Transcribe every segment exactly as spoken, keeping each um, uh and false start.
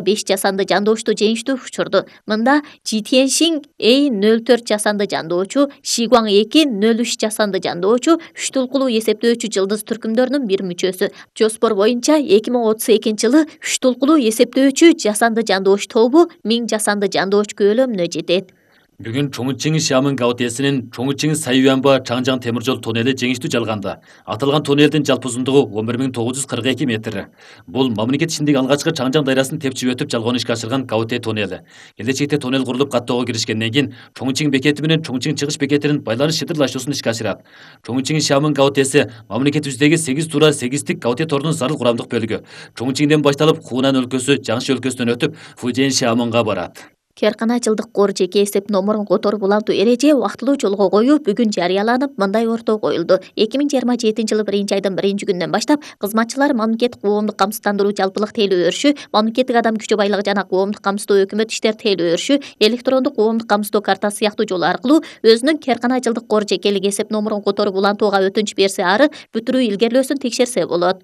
беш жасанды жандоочту жеңиштүү учурду. Мында Жи Тяньшин Эй нөл төрт жасанды жандоочу, Ши Гуаң эки нөл үч жасанды жандоочу, үч толкулуу эсептөөчү жылдыз түркүмдөрүнүн бир мүчөсү. Жоспор боюнча эки миң отуз экинчи жылы үч толкулуу эсептөөчү жасанды жандооч тобу миң жасанды жандооч көлөмүнө жетет. Бүгүн Чоңучиң Шамын Гаотесинин Чоңучиң Сайюанба Чаңжаң темир жол туннели жеңиштүү жалганды. Аталган туннелдин жалпы узундугу он бир миң тогуз жүз кырк эки метр. Бул мамлекет ичиндеги алгачкы Чаңжаң дайрасын тепчип өтүп жалгоон ишке ашырган Гаоте туннели. Келечекте туннел курулуп каттоого киришкенден кийин Чоңучиң бекети менен Чоңучиң чыгыш бекетинин байланыш шытырлашуусун ишке ашырат. Чоңучиң Шамын Гаотеси мамлекетибиздеги сегиз туура сегиздик Гаоте торунун зарыл курамдык бөлүгү. Чоңучиңден башталып Хунан өлкөсү, Жаңши өлкөсүнөн өтүп Фудзен Шамынга барат. Керкана жылдык кор жеке эсеп номурун которуп улантуу эреже убактылуу жолго коюу бүгүн жарыяланып, мындай орто коюлду. эки миң жыйырма жетинчи жылы биринчи айдын биринчи күнүнөн баштап кызматчылар мамлекеттик коомдук камсыздандыруу жалпылык тейлөө өрүшү, мамлекеттик адам күчү байлыгы жана коомдук камсыздоо өкмөт иштер тейлөө өрүшү, электрондук коомдук камсыздоо картасы сыяктуу жол аркылуу өзүнүн Керкана жылдык кор жекелик эсеп номурун которуп улантууга өтүнүч берсе ары бүтүрүү илгерлөөсүн текшерсе болот.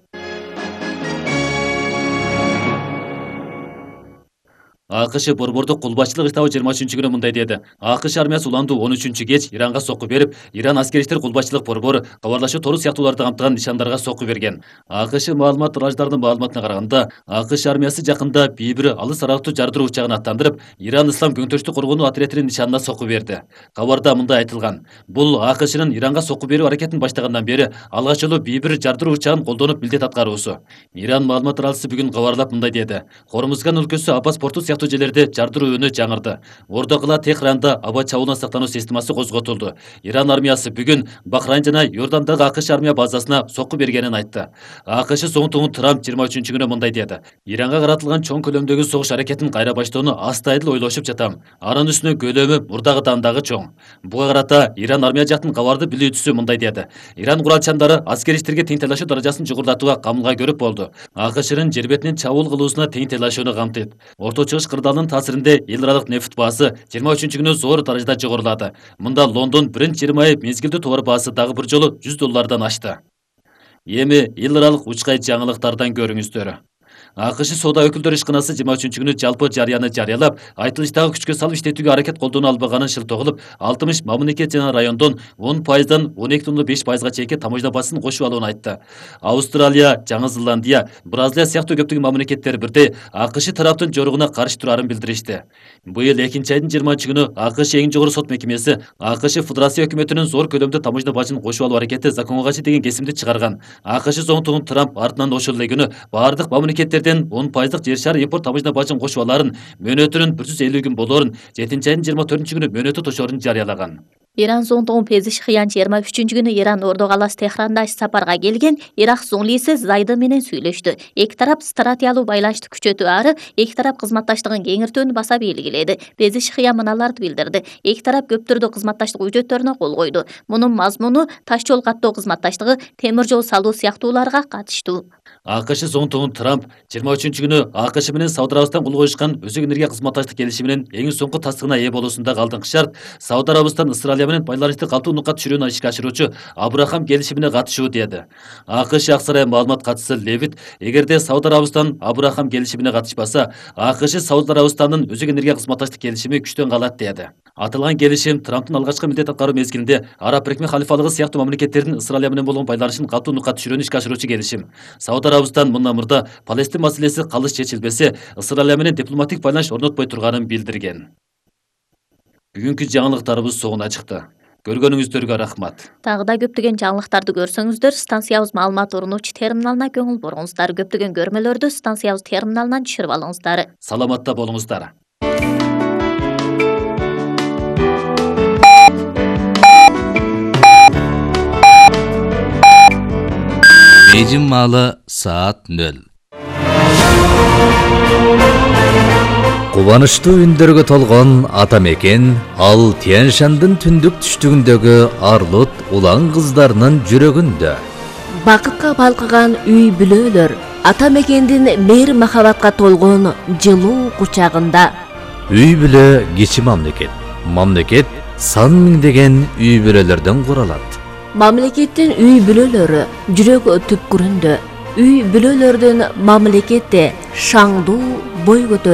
АКШ борбордук кул башчылык штабы жыйырма үчүнчү күнү мындай деди. АКШ армиясы уландуу он үчүнчү кеч Иранга сокку берип, Иран аскери иштер кул башчылык борбору кабарлашуу тору сыяктууларды камтыган нишандарга сокку берген. АКШ маалымат тыраждардын маалыматына караганда, АКШ армиясы жакында бир бир алыс аралыктуу жардыруу учагын аттандырып, Иран ислам көңтөштүк коргонуу отрядынын нишанына сокку берди. Кабарда мындай айтылган: бул АКШнын Иранга сокку берүү аракетин баштагандан бери алгач жолу бир бир жардыруу учагын колдонуп милдет аткаруусу. Иран маалымат тараачысы бүгүн кабарлап мындай деди: Хормузган өлкөсү Аббас порту сыяктуу жерлерде жардыруу үнү жаңырды. Ордокула Техранда аба чабуулдан сактануу системасы козготулду. Иран армиясы бүгүн Бахрайн жана Йордандагы АКШ армия базасына сокку бергенин айтты. АКШ соңтугун Трамп жыйырма үчүнчү күнү мындай деди: Иранга каратылган чоң көлөмдөгү согуш аракетин кайра баштоону астайдыл ойлошуп жатам. Анын үстүнө көлөмү мурдагыдан дагы чоң. Буга карата Иран армия жактын кабарды билүүчүсү мындай деди: Иран куралчандары аскери иштерге тең тайлашуу даражасын жогорулатууга камылга көрүп болду. АКШнын жер бетинин чабуул кылуусуна тең тайлашууну камтыйт. Орто чыгыш кырдаалынын таасиринде эл аралык нефть баасы жыйырма үчүнчү күнү зор даражада жогорулады. Мында Лондон биринчи жыйырма ай мезгилдүү товар баасы дагы бир жолу жүз доллардан ашты. Эми эл аралык учкай жаңылыктардан көрүңүздөр. АКШ соода өкүлдөр ишканасы жыйырма үчүнчү күнү жалпы жарыяны жарыялап, айтылыштагы күчкө салып иштетүүгө аракет колдоно албаганын шылтоо кылып, алтымыш мамлекет жана райондон он пайыздан он эки бүтүн беш пайызга чейинки таможня баасын кошуп алууну айтты. Австралия, Жаңы Зеландия, Бразилия сыяктуу көптөгөн мамлекеттер бирдей АКШ тараптын жоругуна каршы турарын билдиришти. Быйыл экинчи айдын жыйырманчы күнү АКШ эң жогору сот мекемеси АКШ Федерация өкмөтүнүн зор көлөмдө таможня бажын кошуп алуу аракети законго кайшы деген кесимди чыгарган. АКШ соңтугун Трамп артынан ошол эле күнү бардык мамлекеттерден он пайыздык жер шары импорт таможня бажын кошуп аларын, мөөнөтүнүн бир жүз элүү күн болоорун, жетинчи айдын жыйырма төртүнчү күнү мөөнөтү тошоорун жарыялаган. Иран соңтугун Пезишхиян жыйырма үчүнчү күнү Иран ордо каласы Техранда иш сапарга келген Ирак зунлиси Зайды менен сүйлөштү. Эки тарап стратегиялуу байланышты күчөтүү ары эки тарап кызматташтыгын кеңиртүүнү баса белгиледи. Пезишхиян мыналарды билдирди: эки тарап көп түрдүү кызматташтык үчөттөрүнө кол койду. Мунун мазмуну таш жол каттоо кызматташтыгы, темир жол салуу сыяктууларга катыштуу. АКШ соңтугун Трамп жыйырма үчүнчү күнү АКШ менен Сауд Арабистан кол коюшкан өзөк энергия кызматташтык келишиминин эң соңку тастыгына ээ болуусундагы алдыңкы шарт Сауд Арабистан Исраилия менен байланышты катуу нукка түшүрүүнү ишке ашыруучу Абрахам келишимине катышуу деди. АКШ ак сарай маалымат катчысы Левит: эгерде Сауд Арабистан Абрахам келишимине катышпаса, АКШ Сауд Арабистандын өзөк энергия кызматташтык келишими күчтөн калат деди. Аталган келишим Трамптын алгачкы милдет аткаруу мезгилинде Араб Бирикме халифалыгы сыяктуу мамлекеттердин Исраилия менен болгон байланышын катуу нукка түшүрүүнү ишке ашыруучу келишим. Сауд Арабистан мындан мурда Палестин маселеси калыс чечилбесе, Исраилия менен дипломатик байланыш орнотпой турганын билдирген. Бүгүнкү жаңылыктарыбыз соңуна чыкты. Көргөнүңүздөргө рахмат. Дагы да көптөгөн жаңылыктарды көрсөңүздөр, станциябыз маалымат орунуучу терминалына көңүл буруңуздар. Көптөгөн көрмөлөрдү станциябыз терминалынан түшүрүп алыңыздар. Саламатта болуңуздар. Эжим маалы саат нөл. Кубанычтуу үндөргө толгон ата мекен ал Тянь-Шандын түндүк түштүгүндөгү арлут улан кыздарынын жүрөгүндө. Бакытка балкыган үй бүлөлөр ата мекендин мейир махабатка толгон жылуу кучагында. Үй бүлө кичи мамлекет. Мамлекет сан миңдеген үй бүлөлөрдөн куралат. Мамлекеттин үй бүлөлөрү жүрөк түпкүрүндө. үй бүлөлөрдүн мамлекетте шаңдуу бой көтөрүп